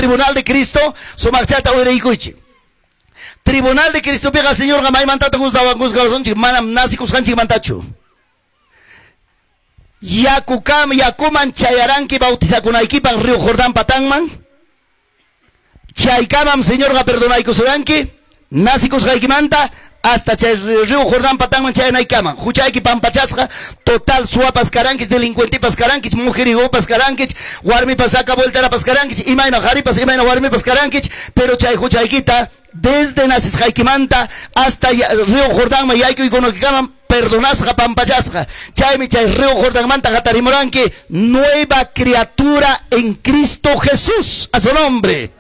Tribunal de Cristo, sumaqchata uyarikuychik. Tribunal de Cristopiqa Señorqa maymantataq juzgawasunchik? Manam nacikusqanchikmantachu. Yakukam yakuman chayaranki bautizakunaykipaq Río Jordán patanman. Chaykamam Señorqa perdonaykusuranki nacikusqaykimanta hasta chay Río Jordán patanman chayanaykaman. Huchayki pampachasqa, total suwapas karankich, delincuentepas karankich, mujerigopas karankich, warmipas saca vueltarapas karankich, imayna qaripas, imayna warmipas karankich, pero chay huchaykita desde nacisqaykimanta hasta Río Jordanman yaykuykunaykikamam perdonasqa, pampachasqa. Chaymi chay Río Jordanmanta hatarimuranki nueva criatura en Cristo Jesús. A su nombre,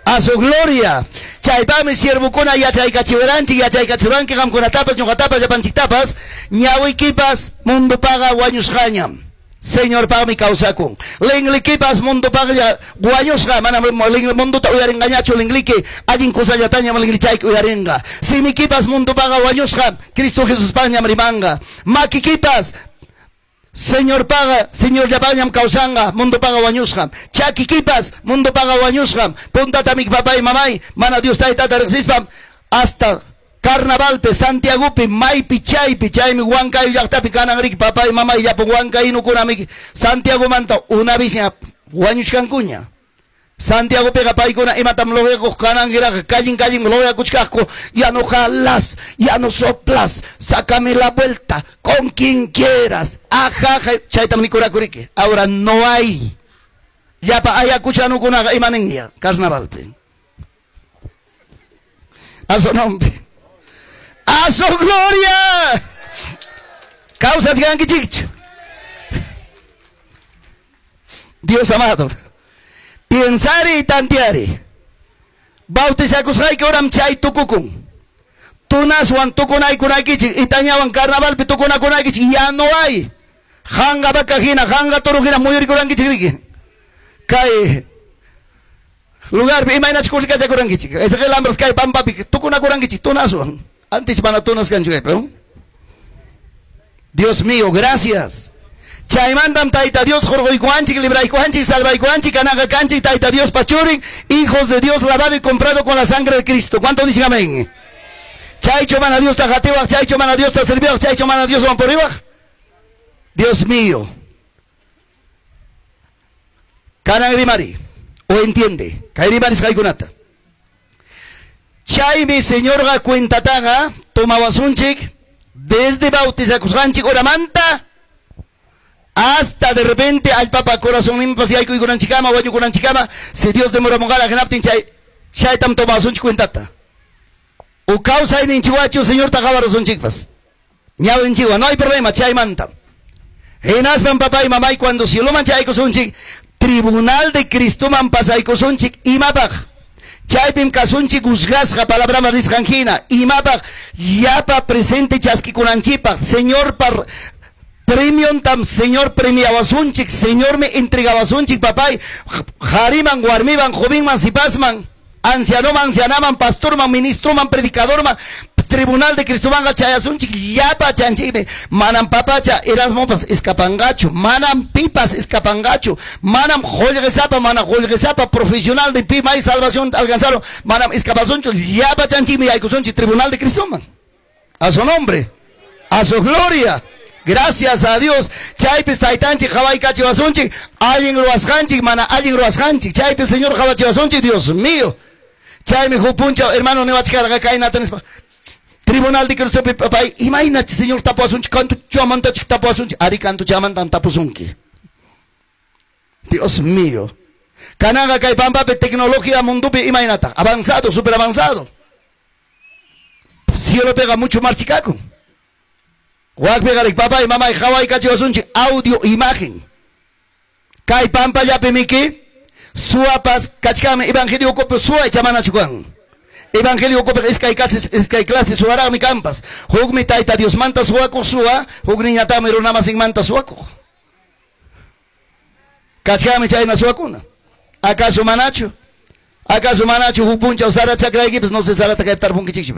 a su gloria. Chaypaqmi siervokuna yachaykachiwaranchik, yachaykachiwanki qamkunatapas, ñuqatapas, llapanchiktapas, ñawikipas mundopaqa wañusqañam. Señorpaqmi kawsakun. Linglikipas mundopaqa wañusqa, manam mundota uyarinqañachu lingliki, allin kusallatañam linglichayki uyarinqa. Simikipas mundopaqa wañusqa, Cristo Jesuspaqñam rimanqa. Makikipas Señorpaqa, Señorllapaqñam kawsanqa, mundopaqa wañusqam. Chakikipas mundopaqa wañusqam. Puntatamik papay mamay, mana Dios taytata riqsispam, hasta Carnavalpi, Santiagopi, maypi, chaypi, chaymi Huancayo llaqtapi kanan riki papay mamay llapan huancayinukunamiki Santiagomanta una vez wañuchkankuña. Santiagopiqa paykuna imatam lograkuq kanankiraqa kallin kallin lograkuchkaqku, ya no jalas, ya no soplas, sácame la vuelta con quien quieras. Ajaja, chaytam nikurakuriki. Ahora no hay. Llapa ayacuchanukunaqa imaninña carnavalpi. A su nombre. A su gloria. Kawsachkankichikchu. Dios amado. Pensari y tanteari. Bautizakusqayki horam chay tukukun. Tunaswan tukunaykunaykichik, itañawan carnavalpi tukunakunaykichik, ya no hay. Hanqa vaca hina, hanqa toro hina muyurikurankichik riki. Kay lugarpi imaynachus kurrikachakurankichik. Ezequiel Ambros kay pampapi tukunakurankichik tunaswan. Antes mana tunas kanchu kaypi. Dios mío, gracias. Chaymantam Tayta Dios hurquykuwanchik, libraykuwanchik, salvaykuwanchik, kanaqa kanchik Tayta Dios pachurin, hijos de Dios lavado y comprado con la sangre de Cristo. ¿Cuánto dicen amén? Chaycho mana Diosta qatiwaq, chaycho mana Diosta serviwaq, chaycho mana Dioswan puriwaq. Dios mío. Kanan rimari, o entiende, kay rimarisqaykunata. Chaymi Señorqa cuentataqa tomawasunchik desde bautizakusqanchik horamanta hasta de repente allpapa corazonninpas yaykuykunanchikama, wañukunanchikama, si Dios demoramunqara hinaptin chay chaytam tomawasunchik cuentata. O kawsayninchikwachu Señorta qhawarusunchikpas. Ñawinchikwan, no hay problema, chaymanta. Hinaspan papay mamay cuando cieloman chaykusunchik, tribunal de Cristoman pasaykusunchik imapaq. Chaypim kasunchik juzgasqa palabraman nisqan hina, imapaq llapa presente chaskikunanchikpaq, Señorpa premiontam Señor premiawasunchik, Señormi entregawasunchik papay, qhariman, warmiman, jovenman, sipasman, ancianoman, ancianaman, pastorman, ministroman, predicadorman, tribunal de Cristomanqa chayasunchik llapa chanchikmi, manam papacha Erasmopas escapanqachu, manam pipas escapanqachu, manam qullqisapa, mana qullqisapa profesional de pi may salvación alcanzaron, manam escapasunchu, llapa chanchikmi yaykusunchik tribunal de Cristoman. A su nombre, a su gloria. Gracias a Dios. Chaypis taytanchik qhawaykachiwasunchik, allin ruwasqanchik, mana allin ruwasqanchik. Chaypis Señor qhawachiwasunchik, Dios mío. Chaymi huk punchaw hermano niwachkarqa kaynata nispa. Tribunal de Cristopi papay, imaynachi Señor tapuwasunchik, kantuchamantachik tapuwasunchik, ari kantuchamantan tapusunki. Dios mío. Kananqa kay pampapi tecnología mundopi imaynata, avanzado, super avanzado. Cielopiqa mucho marchikakun. Wakpiqa papay, mamay qhawaykachiwasunchik audio imagen. Kay pampallapi miki suwapas kachkanmi evangelio ukupi suwa ichamanachu kan. Evangelio ukupi iskay clase suwaraqmi kanpas. Hukmi Tayta Diosmanta suwakuq suwa, hukniñataqmi runamasinmanta suwakuq. Kachkanmi chayna suwakuna. ¿Acaso manachu? ¿Acaso manachu huk punchaw sara chakraykipas? No sé sarata kaypi tarpunkichikchu.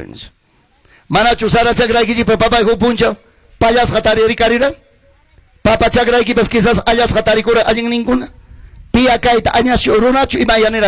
Manachu sara chakraykichikpa papay huk punchaw pallasqa taririkarira? Papa chakraykipas quizás allasqa tarikura allinninkuna. Pia kayta añaschu runachu imayanira.